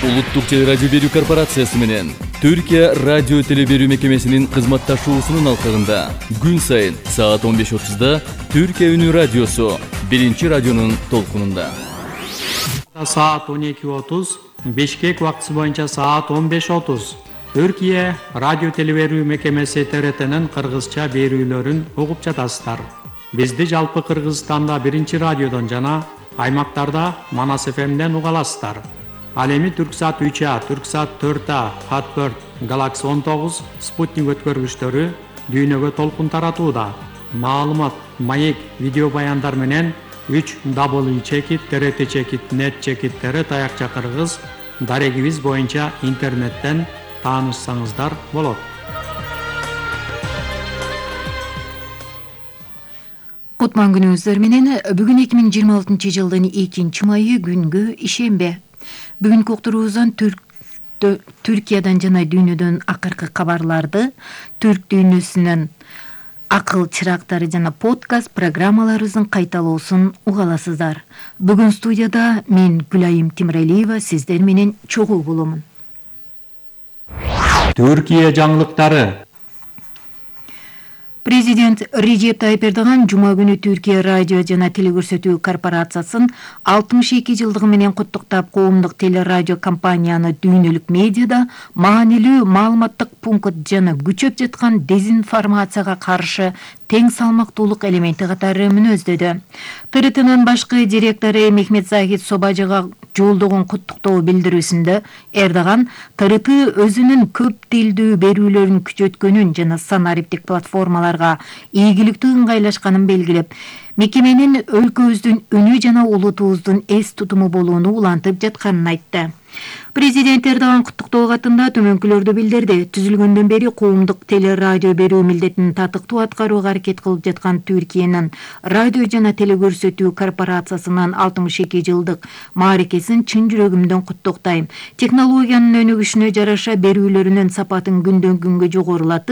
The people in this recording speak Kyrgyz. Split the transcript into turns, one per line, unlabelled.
Улуттук телерадио берүү корпорациясы менен Түркия радио теле берүү мекемесинин кызматташуусунун алкагында күн сайын саат 15:30 Түркия үнү радиосу биринчи радионун толкунунда.
Саат 12:30, Бишкек убактысы боюнча саат 15:30. Түркия радио теле берүү мекемеси ТРТнин кыргызча берүүлөрүн угуп жатасыздар. Бизди жалпы Кыргызстанда биринчи радиодон жана аймактарда Манас ФМден уга аласыздар. Ал эми Түрксат 3А, Түрксат 4А, Хатберт, Galaxy 19, Спутник өткөргүчтөрү дүйнөгө толкун таратууда. Маалымат, маек, видео баяндар менен 3w.trt.net/tr таякча кыргыз дарегибиз боюнча интернеттен таанышсаңыздар болот.
Кутман күнүңүздөр менен бүгүн 2026 жылдын 2-майы күнгө ишембе. Бүгүнкү уктуруубуздан Түркиядан жана дүйнөдөн акыркы кабарларды, түрк дүйнөсүнүн акыл чырактары жана подкаст программаларыбыздын кайталоосун уга аласыздар. Бүгүн студияда мен Гүлайым Тимиралиева сиздер менен чогуу боломун.
Түркия жаңылыктары.
Президент Режеп Тайып Эрдоган жума күнү Түркия радио жана телекөрсөтүү корпорациясын 62 жылдыгы менен куттуктап, коомдук телерадио компанияны дүйнөлүк медиада маанилүү маалыматтык пункт жана күчөп жаткан дезинформацияга каршы тең салмактуулук элементи катары мүнөздөдү. ТРТнын башкы директору Мехмет Захид Собажыга жолдогон куттуктоо билдирүүсүндө Эрдоган ТРТ өзүнүн көп тилдүү берүүлөрүн күчөткөнүн жана санариптик платформаларга ийгиликтүү ыңгайлашканын белгилеп, мекеменин өлкөбүздүн үнү жана улутубуздун эс тутуму болууну улантып жатканын айтты. Президент Эрдоган куттуктоо катында төмөнкүлөрдү билдирди. Түзүлгөндөн бери коомдук телерадио берүү милдетин татыктуу аткарууга аракет кылып жаткан Түркиянын радио жана телекөрсөтүү корпорациясынын 62 жылдык мааракесин чын жүрөгүмдөн куттуктайм. Технологиянын өнүгүшүнө жараша берүүлөрүнүн сапатын күндөн күнгө жогорулатып,